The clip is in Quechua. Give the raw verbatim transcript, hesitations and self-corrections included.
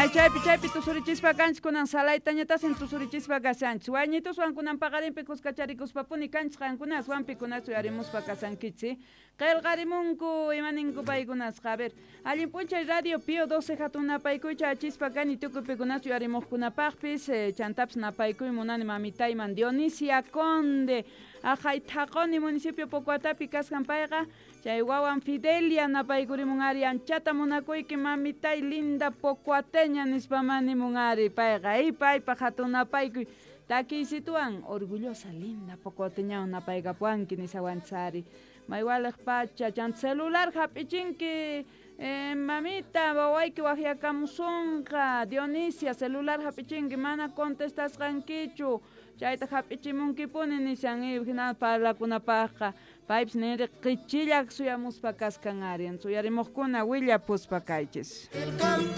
Ay chaypi chaypi tusurichispa kanchis kunan salaytañatasin tusurichispa kashanchis wayñituswan kunan paqarinpi kuskacharikuspapuni kanchis qankunaswan pikunas uyarimuspa kasankichis qillqarimunku imaninku paykunasqa. A ver, allin p'unchay Radio Pío doce hatun napaykuycha achispa kani tukuy pikunas uyarimuqkunapaqpis chantapis napaykuy munani mamitayman Dionisia Conde aqhay Thaqoni municipio Pocoatapi kasqan payqa chay wawan Fidelia napaykurimun ari anchata munakuyki mamitay linda pocoateña nispa manimun ari payqa y paypaq hatun napaykuy takiysituwan orgullosa linda pocoateñawan napaykapuwanki nisawanchis maywaliq pacha chanta celular hap'ichinki eh, mamita wawayki waqyakamusunqa Dionisia celular hap'ichinki mana contestasqankichu chayta hap'ichimunkipuni nishan hina parlakunapaqqa paypis ninri qichilla suyamuspa kaskan ari suyarimuqkuna willapuspa kaychis.